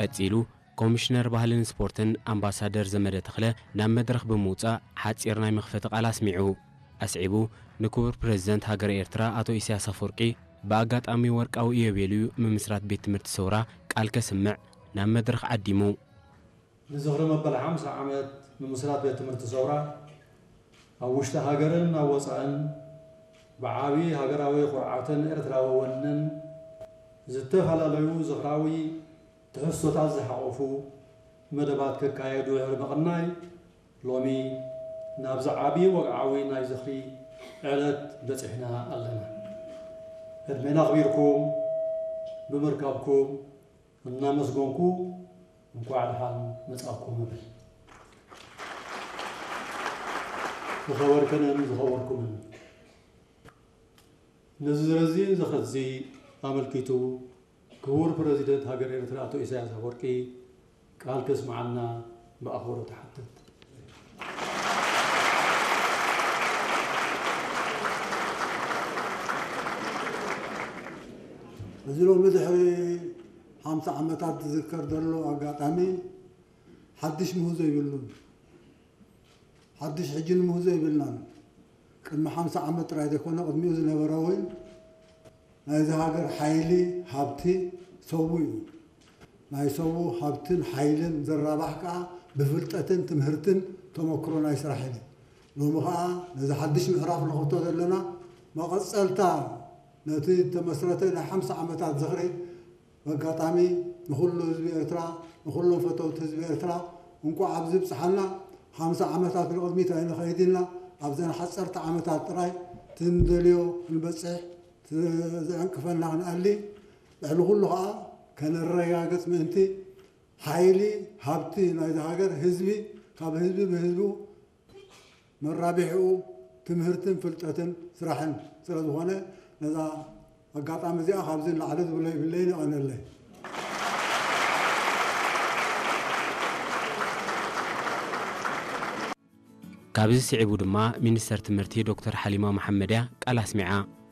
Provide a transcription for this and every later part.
ቀጺሉ፣ ኮሚሽነር ባህልን ስፖርትን ኣምባሳደር ዘመደ ተኽለ ናብ መድረኽ ብምውጻእ ሓጺር ናይ መኽፈቲ ቃል ኣስሚዑ። ኣስዒቡ፣ ንክቡር ፕረዚደንት ሃገረ ኤርትራ ኣቶ ኢሳያስ ኣፈወርቂ ብኣጋጣሚ ወርቃዊ ኢዮቤልዩ ምምስራት ቤት ትምህርቲ ሰውራ ቃል ከስምዕ ናብ መድረኽ ዓዲሙ። ንዝኽሪ መበል ሓምሳ ዓመት ምምስራት ቤት ትምህርቲ ሰውራ ኣብ ውሽጢ ሃገርን ኣብ ወጻእን ብዓቢ ሃገራዊ ኩርዓትን ኤርትራዊ ወንን ዝተፈላለዩ ዝኽራዊ ትሕዝቶታት ዝሓቖፉ መደባት ክካየዱ ድሕሪ ምቕናይ፣ ሎሚ ናብዚ ዓቢ ወግዓዊ ናይ ዝኽሪ ዕለት በጺሕና ኣለና። ዕድሜና ኣኽቢርኩም ብምርካብኩም እናመስገንኩ፣ እንኳዕ ደሓን መጻእኩም እብል። ዝኸበርክንን ዝኸበርኩምን፣ ነዚ ረዚን ዝኽሪ ኣመልኪቱ ክቡር ፕረዚደንት ሃገር ኤርትራ ኣቶ ኢሳያስ ኣፈወርቂ ቃል ከስምዓልና ብኣኽብሮት እሓትት። እዚ ሎሚ ድሕሪ ሓምሳ ዓመታት ዝዝከር ዘሎ ኣጋጣሚ ሓድሽ ምህዞ የብሉን። ሓድሽ ሕጂ ንምህዞ የብልናን። ቅድሚ ሓምሳ ዓመት ጥራይ ዘይኮነ፣ ቅድሚኡ ዝነበረ እውን ናይዚ ሃገር ሓይሊ፣ ሃብቲ ሰቡ እዩ። ናይ ሰቡ ሃብትን ሓይልን ዝራባሕ ከኣ ብፍልጠትን ትምህርትን ተመክሮ ናይ ስራሕን እዩ። ሎሚ ከኣ ነዚ ሓድሽ ምዕራፍ ንኸፍቶ ዘለና መቐጸልታ ነቲ ዝተመስረተ ናይ ሓምሳ ዓመታት ዝኽሪ፣ በጋጣሚ ንኹሉ ህዝቢ ኤርትራ፣ ንኹሎም ፈተውቲ ህዝቢ ኤርትራ እንቋዕ ኣብዚ ብጽሓና። ሓምሳ ዓመታት ንቕድሚት ኣይንኸይድ ኢልና፣ ኣብዘን ሓጸርቲ ዓመታት ጥራይ እቲ ንደልዮ ክንበጽሕ፣ እቲ ዘዕንቅፈና ክንኣሊ፣ ልዕሊ ኩሉ ኸኣ ከነረጋግጽ ምእንቲ፣ ሓይሊ፣ ሃብቲ ናይዚ ሃገር ህዝቢ፣ ካብ ህዝቢ ብህዝቡ መራቢሕኡ ትምህርትን ፍልጠትን ስራሕን ስለ ዝኾነ፣ ነዛ ኣጋጣሚ እዚኣ ካብዚ ንላዕሊ ዝብሎ የብለይን። የቐነለይ። ካብዚ ስዒቡ ድማ ሚኒስተር ትምህርቲ ዶክተር ሓሊማ መሓመድያ ቃል ኣስሚዓ።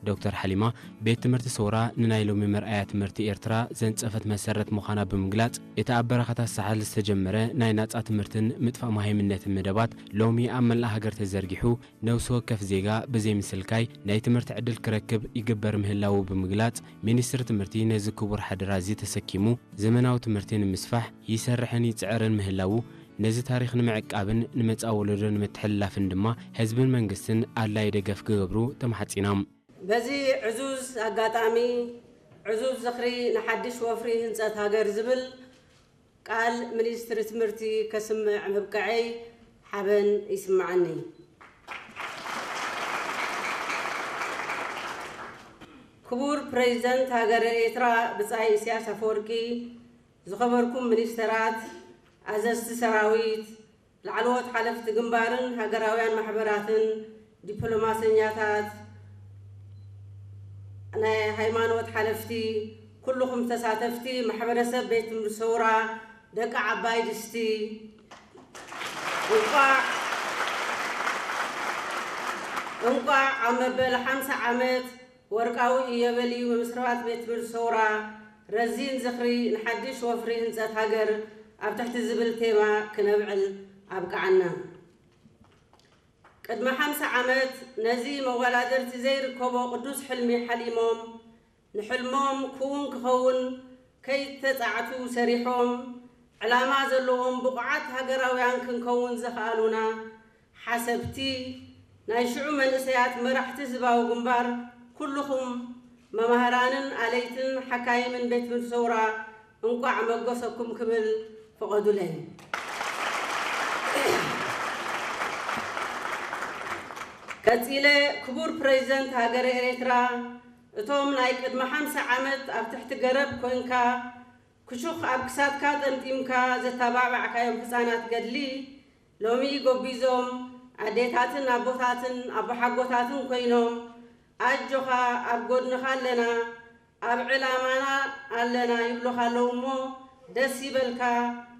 ዶክተር ሓሊማ፣ ቤት ትምህርቲ ሰውራ ንናይ ሎሚ መርኣያ ትምህርቲ ኤርትራ ዘንጸፈት መሰረት ምዃና ብምግላጽ፣ እቲ ኣብ በረኻታት ሳሕል ዝተጀመረ ናይ ናጻ ትምህርትን ምጥፋእ መሃይምነትን መደባት ሎሚ ኣብ መላእ ሃገር ተዘርጊሑ፣ ነብሲ ወከፍ ዜጋ ብዘይ ምስልካይ ናይ ትምህርቲ ዕድል ክረክብ ይግበር ምህላዉ ብምግላጽ፣ ሚኒስትሪ ትምህርቲ ነዚ ክቡር ሓደራ እዚ ተሰኪሙ ዘመናዊ ትምህርቲ ንምስፋሕ ይሰርሕን ይጽዕርን ምህላዉ፣ ነዚ ታሪኽ ንምዕቃብን ንመጻኢ ወለዶ ንምትሕልላፍን ድማ ህዝብን መንግስትን ኣድላዪ ደገፍ ክገብሩ ተማሕጺኖም። በዚ ዕዙዝ ኣጋጣሚ፣ ዕዙዝ ዝኽሪ ንሓድሽ ወፍሪ ህንጸት ሃገር ዝብል ቃል ሚኒስትሪ ትምህርቲ ከስምዕ ምብቅዐይ ሓበን ይስምዓኒ። ክቡር ፕሬዚደንት ሃገረ ኤርትራ ብጻይ ኢሳያስ ኣፈወርቂ፣ ዝኸበርኩም ሚኒስተራት፣ ኣዘዝቲ ሰራዊት፣ ላዕለዎት ሓለፍቲ ግንባርን ሃገራውያን ማሕበራትን፣ ዲፕሎማሰኛታት፣ ናይ ሃይማኖት ሓለፍቲ፣ ኩልኹም ተሳተፍቲ ማሕበረሰብ ቤት ትምህርቲ ሰውራ ደቂ ዓባይ ድስቲ፣ እንቋዕ፣ እንቋዕ ኣብ መበል ሓምሳ ዓመት ወርቃዊ ኢዮቤልዩ ምምስራት ቤት ትምህርቲ ሰውራ ረዚን ዝኽሪ ንሓድሽ ወፍሪ ህንጸት ሃገር ኣብ ትሕቲ ዝብል ቴማ ክነብዕል ኣብቅዓና። ቅድሚ ሓምሳ ዓመት ነዚ መወዳድርቲ ዘይርከቦ ቅዱስ ሕልሚ ሓሊሞም፣ ንሕልሞም ክውን ክኸውን ከይተጻዕቱ ሰሪሖም፣ ዕላማ ዘለዎም ብቑዓት ሃገራውያን ክንከውን ዘኽኣሉና ሓሰብቲ፣ ናይ ሽዑ መንእሰያት መራሕቲ ህዝባዊ ግንባር፣ ኩልኹም መማህራንን ኣለይትን ሓካይምን ቤት ትምህርቲ ሰውራ እንቋዕ መጎሰኩም ክብል ፍቐዱለይ። ቀጺለ፣ ክቡር ፕሬዚደንት ሃገረ ኤርትራ፣ እቶም ናይ ቅድሚ ሓምሳ ዓመት ኣብ ትሕቲ ገረብ ኮይንካ ክሹኽ ኣብ ክሳድካ ጠምጢምካ ዘተባባዕካዮም ህጻናት ገድሊ፣ ሎሚ ጎቢዞም ኣዴታትን ኣቦታትን ኣቦሓጎታትን ኮይኖም፣ ኣጆኻ ኣብ ጎድንኻ ኣለና፣ ኣብ ዕላማና ኣለና ይብሉኻ ኣለዉ እሞ፣ ደስ ይበልካ፣